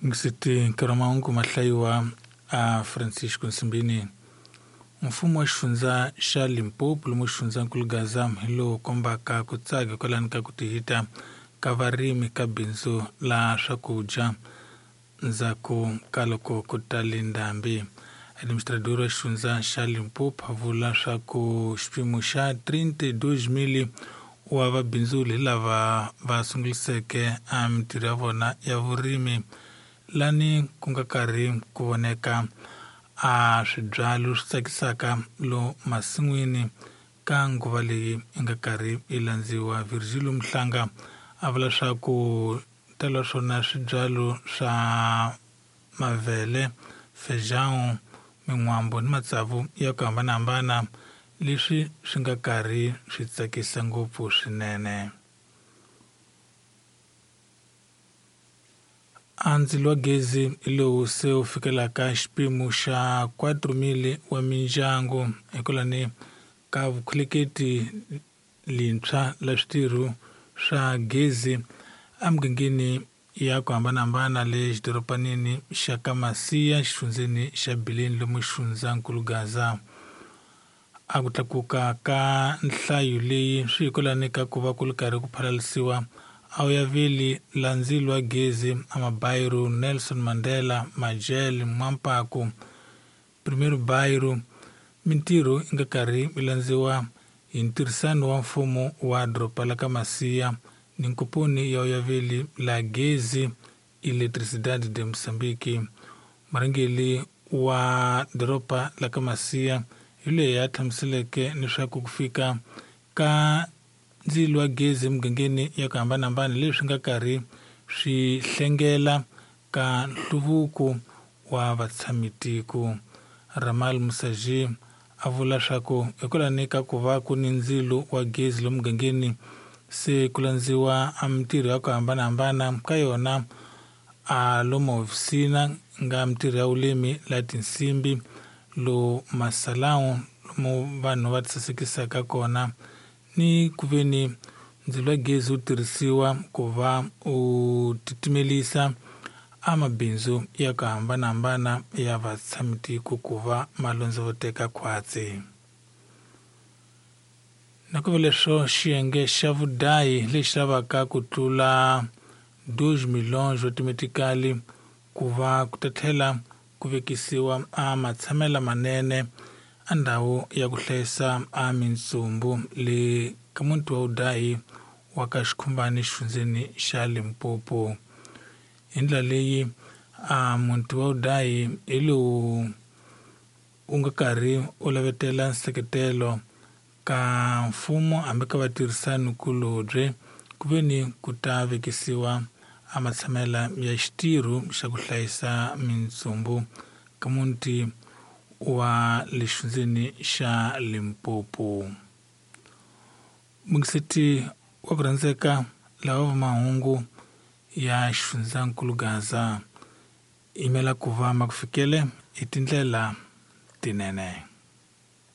Ngisiti nkarhi wa mahungu ma hlayiwa a Francisco Nsimbini. Mfumo wa xifundza xa Limpopo lomu xifundzankulu Gaza hi lowu kombaka ku tsaka kwalani ka ku tihita ka varimi ka bindzu la swakudya ndzhaku ka loko ku tale ndhambi. Administrador wa xifundza xa Limpopo a vula swa ku xipimo xa 32,000 wa vabindzuli hi lava va sunguliseke a mintirho ya vona ya vurimi lani ku nga karhi ku voneka a swibyalo swi tsakisaka lo masin'wini ka nguva leyi yi nga karhi yi landziwa. Virgilio Mhlanga a vula swa ku tala swona swibyalo swa mavele, feijão, min'wambo ni matsavu ya ku hambanahambana leswi swi nga karhi swi tsakisa ngopfu swinene. A ndzilo wa gezi lowu se wu fikelaka xipimo xa 4,000 wa mindyangu hikwalani ka vukhuleketi lintshwa la switirho swa gezi emugangeni ya ku hambanahambana le xidoropanini xa ka Masiya xifundzeni xa Bileni lomu xifundzankulu Gaza. A ku tlakuka ka nhlayo leyi swi hikwalani ka ku va ku ri karhi ku phalalisiwa a wu ya veli la ndzilo wa gezi a Mabairo, Nelson Mandela, Majele, Mwampaku, Primeiro Bairro. Mintirho yi nga karhi yi landziwa hi ntirhisano wa mfumo wa doroba la ka Masiya ni nkomponi ya uyaveli la gezi Eletricidade de Moçambique. Murhangeri wa doroba la ka Masiya hi loyi a hlamuseleke leswaku ku fika ka ndzilo wa gezi emugangeni ya ku hambanahambana leswi nga karhi swi hlengela ka nhluvuko wa vatshamitiko. Ramal Musaji a vula swa ku hikwalani ka ku va ku ni ndzilo wa gezi lomu mugangeni se ku landziwa a mintirho ya ku hambanahambana ka yona a lomu hofisina nga mintirho ya vurimi la tinsimbi lo masalawu lomu vanhu va tisasekisaka kona ni ku ve ni ndzilo wa gezi wu tirhisiwa ku va u titimelisa a mabindzu ya ku hambanahambana ya vatshamitiko ku va ma londzovoteka khwatsi. Na ku va leswo xiyenge xa vudayi lexi lavaka ku tlula 2 milhões automatically ku va ku ta tlhela ku vekisiwa a matshamela manene a ndhawu ya ku hlayisa a mintsumbu le ka muti wa vudayi wa ka Xikhumbani xifundzeni xa Limpopo. Hi ndlela leyi a muti wa vudayi hi lowu wu nga karhi u lavetela nseketelo ka mfumo hambi ka vatirhisani kulobye ku ve ni ku ta vekisiwa a matshamela ya xitirho xa ku hlayisa mintsumbu ka muti wa le xifundzeni xa Limpopo. Mungiseti wa ku rhandzeka lava va mahungu ya xifundzankulu Gaza yimela ku va ma ku fikele hi tindlela tinene.